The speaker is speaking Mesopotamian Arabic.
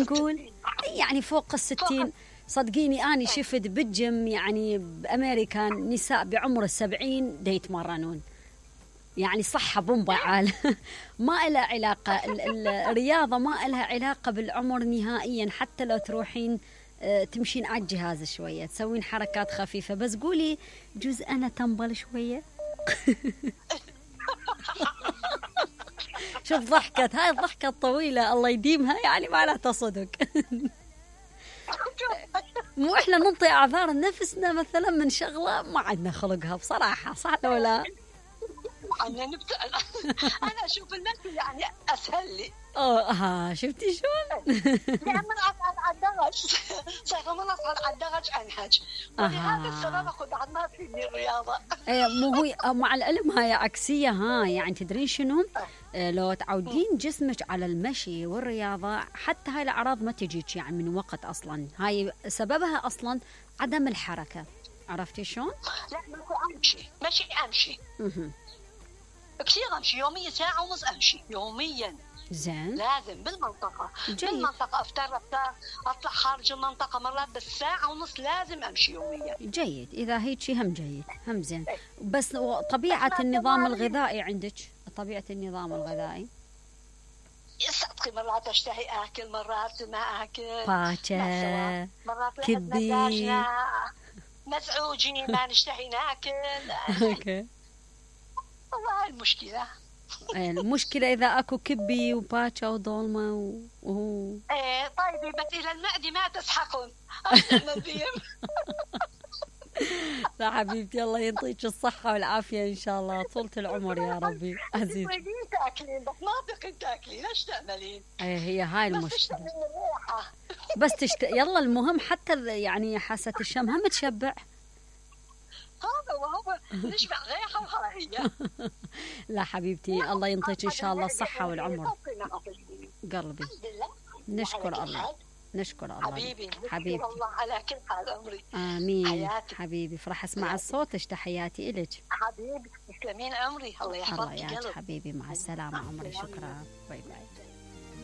نقول يعني فوق ال60. صدقيني أنا شفت بالجيم يعني بأمريكا نساء بعمر 70 دا يتمرنون، يعني صحة بومبا عال. ما إلها علاقة الرياضة، ما إلها علاقة بالعمر نهائيا. حتى لو تروحين تمشين على الجهاز شوية، تسوين حركات خفيفة، بس قولي جزء أنا تنبل شوية. شوف ضحكت، هاي الضحكة الطويلة الله يديمها، يعني معناتها صدق. مو إحنا ننطي أعذار لنفسنا مثلا من شغلة ما عندنا خلقها بصراحة، صح ولا لا؟ أنا أشوف المشي يعني أسهل لي. شفتي شلون؟ يعني من أصعد على الدرج، صار من أصعد على الدرج أنهج، ولهذا السبب أخذ عنا في الرياضة. مو هو مع العلم هاي عكسية. يعني تدرين شنو؟ لو تعودين جسمك على المشي والرياضة، حتى هاي الأعراض ما تجيك يعني من وقت أصلا. هاي سببها أصلا عدم الحركة. عرفتي شلون؟ لا أمشي كثير، أمشي يوميا ساعة ونص، أمشي يوميا. زين. لازم بالمنطقة. بالمنطقة أفتر أطلع خارج المنطقة مرات، بس ساعة ونص لازم أمشي يوميا. جيد، إذا هيك هم جيد هم زين. بس طبيعة النظام الغذائي عندك، طبيعة النظام الغذائي صدقي مرات أشتهي أكل، مرات ما أكل، باكر، مرات كبي، مزعوجين ما نشتهي ناكل. اوكي. والله المشكلة. المشكلة إذا أكو كبي وباكا وضولمة إيه طيب، بس إلى المعدة ما تسحقون. لا حبيبتي، الله يعطيك الصحة والعافية إن شاء الله، طولة العمر يا ربي عزيز. تاكلين بس ما تقدرين تاكلين، ايش تعملين؟ هي هاي المشكلة. بس يلا المهم حتى يعني حاسة الشم هم تشبع. هذا وهو نشبع ريحة وهاي. لا حبيبتي، الله ينطيك إن شاء الله الصحة والعمر. قلبي نشكر الله، نشكر الله حبيبي الله على كل حال عمري. آمين حياتي. حبيبي فرح أسمع صوتك، تحياتي إلك حبيبي. تسلمين عمري، الله يحفظك. الله يا حبيبي، مع السلامة عمري، شكرا، باي باي.